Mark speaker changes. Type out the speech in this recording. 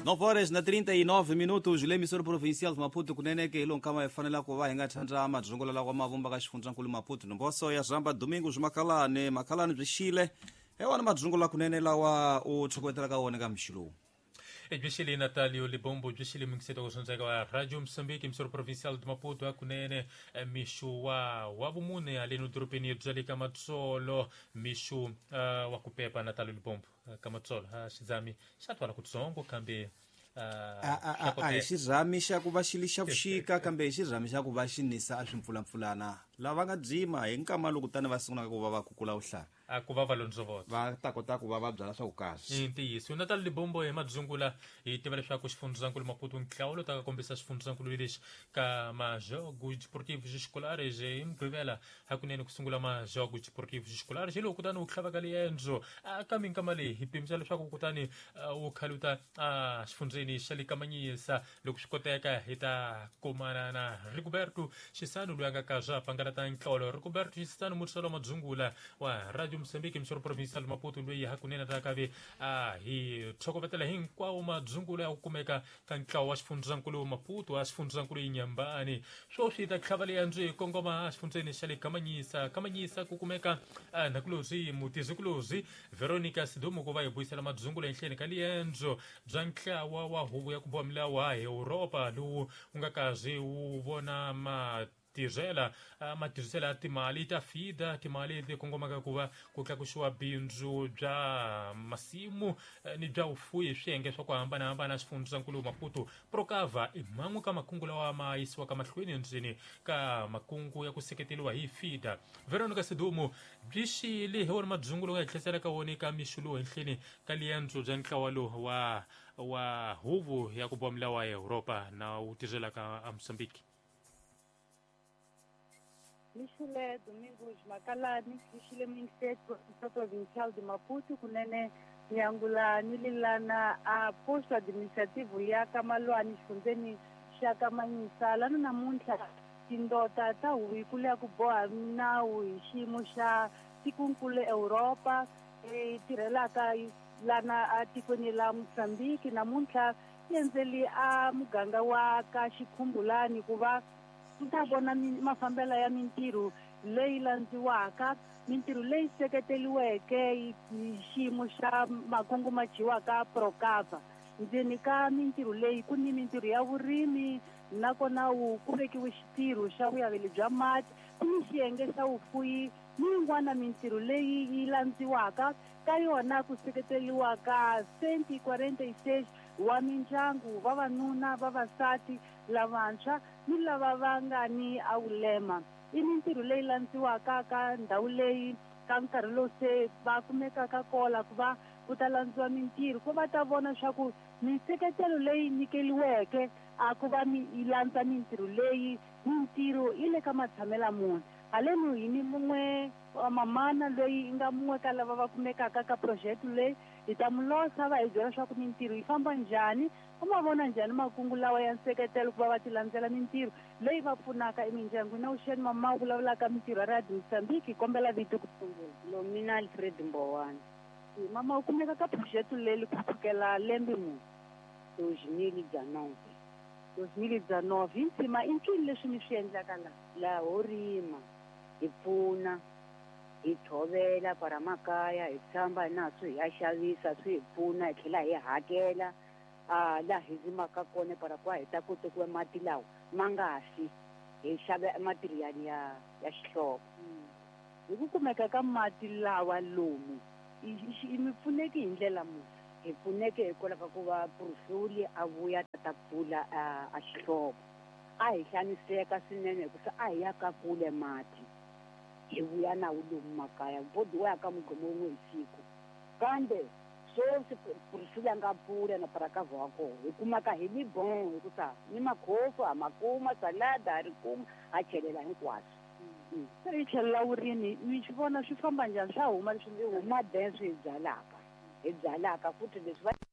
Speaker 1: 9 horas na 39 minutos, le provincial de Maputo kunene ke ilo nkama hi fanela ku va hi nga thandza madzungulo lawa ma vumba ka xifundzankulu Maputo. Nomboso ya Zamba Domingos Makalani, Makalani byi xile. Ewana madzungulo kunene lawa u tshokovetela ka wona ka mixi lowu.
Speaker 2: Byi Natalio Libombo byi xile mingiseto kusondzeka wa Radio Moçambique, emissora provincial de Maputo, hakunene mixo wa vumune haleno dorobeni bya le ka Matsolo, mixo wa ku pepa Natalio Libombo ka Matsolo xidzami xa twala kutsongo kambe
Speaker 1: a hi xirhami xa ku va xi li xa vuxika kambe hi xirhami xa ku va xi nisa a swimpfulampfulana lava nga dzima hi nkama loku tani va sungulaka ku va va kukula vuhlanga
Speaker 2: a ku va va londzovota
Speaker 1: va ta kota ku va va byala swa ku kahle.
Speaker 2: I ntiyiso Natal Libombo hi madzungula hi tiva leswaku xifundzankulu Maputo ntlawulo ta ka kombisa xifundzankulu lexi ka majogo desportivos escolares hi Mugqivela hakunene ku sungula majogo desportivos escolares hi loko kutani wu tlhavaka liendzo ka minkama leyi hi pimisa leswaku kutani wu khaluta xifundzeni xa le Kamanyisa loko swi koteka hi ta kumana na Rigoberto Xisano loyi a nga ka swa pangalata ntlolo. Rigoberto Xisano mutswalo madzungula wa Radio Moçambique emissora provincial Maputo loyi hakunene ta kave a hi tshokovetela hinkwawo madzungula ya ku kumeka ka ntlawa wa xifundzankulu Maputo wa xifundzankulu Inyambani. Sweswi ta tlhava liendzo hi kongoma exifundzeni xa le Kamanyisa. Kamanyisa ku kumeka nhakulozi mutizikulozi Veronica Sidumo ku va hi vuyisela madzungula enhleni ka liendzo bya ntlawa wa huvo ya ku boha milawu a Europa lowu wu nga kazi wu vona matirhela matirhiselo ya timali ta FIDA, timali leti kongomaka ku va ku tlakusiwa bindzu bya masimu ni bya vufuwi hi swiyenge swa ku hambanahambana xifundzankulu Maputo. Procava i man'we ka makungu lawa ma yisiwaka mahlweni endzeni ka makungu ya ku seketeriwa hi FIDA. Veronica Sidumo byi xile hi wona madzungulo nga hi tlherisela ka wona eka mixo lowu henhleni ka liendzo bya ntlawa lowu wa huvo ya ku boha milawu ya Europa na wu tirhelaka a Mozambique.
Speaker 3: Mixile Domingos Makalani, Mixile Ministério Provincial de Maputo, kunene nyangula ni lilana a posto administrativo ya Kamalwani xifundzeni xa Kamanyisa lana namuntlha tindota ta huvo ya ku boha nawu hi xiyimo xa tikonkulu Europa leyi tirhelaka lana a tikweni la Mozambique namuntlha ti endzeli a muganga wa ka Xikhumbulani ku va ta vona mafambelo ya mintirho leyi landziwaka, mintirho leyi seketeriweke hi xiyimo xa makungu ma dyiwaka Procava. Ndzeni ka mintirho leyi ku ni mintirho ya vurimi nakona wu ku vekiwe xitirho xa vuyaveli bya mati, ku ni xiyenge xa vufuyi ni yin'wana mintirho leyi yi landziwaka ka yona ku seketeriwa ka 146 wa mindyangu, vavanuna, vavasati, lavantshwa ni lava va nga ni awulema. I mintirho leyi landziwaka ka ndhawu leyi ka nkarhi lowu se va kumekaka kola ku va ku ta landziwa mintirho ku va ta vona swa ku minseketelo leyi nyikeliweke a ku va mi yi landza mintirho leyi mintirho yi le ka matshamela munhu. Haleno hi ni mun'we wa mamana loyi yi nga mun'we ka lava va kumekaka ka project leyi hi ta mu losa va hi byela swa ku mintirho yi famba njhani, va ma vona njhani makungu lawa ya nseketelo ku va va ti landzela mintirho leyi va pfunaka emindyangwini. Na vuxeni mama u vulavulaka mintirho ya Radio Mozambique, hi kombela vito ku sungula.
Speaker 4: Lomina Alfred Mbowana.
Speaker 3: Mama u kumeka ka project leyi ku sukela lembe muni?
Speaker 4: 2019.
Speaker 3: 2019. Hi ntsima i ncini leswi mi swi endlaka laha?
Speaker 4: Laha ho rima, hi pfuna, hi tshovela kwala makaya, hi tshamba na swi hi ya xavisa swi hi pfuna hi tlhela hi hakela laha hi rimaka kona para kwa hi ta kota ku mati lawa ma nga fi hi xava material ya xihlovo.
Speaker 3: Hi ku kumeka ka mati lawa lomu i mi pfuneki hi ndlela muni?
Speaker 4: Hi pfuneke hikwalaho ka ku va Prusuli a vuya ta pfula a xihlovo. A hi xaniseka swinene hikuva a hi ya ka kule mati hi vuya na wu lomu makaya bodi wa ya ka mugqomo wun'we hi siku kambe sweswi Prusuli a nga pfula na Parakava wa kona hi kumaka hi li bon hikusa ni makhofu ha ma kuma salada ha ri kuma ha chelela hinkwaswo.
Speaker 3: Se hi tlhelela vurimi mi swi vona swi famba njhani swa huma leswi
Speaker 4: mi huma ben swi hi byalaka futhi leswi va.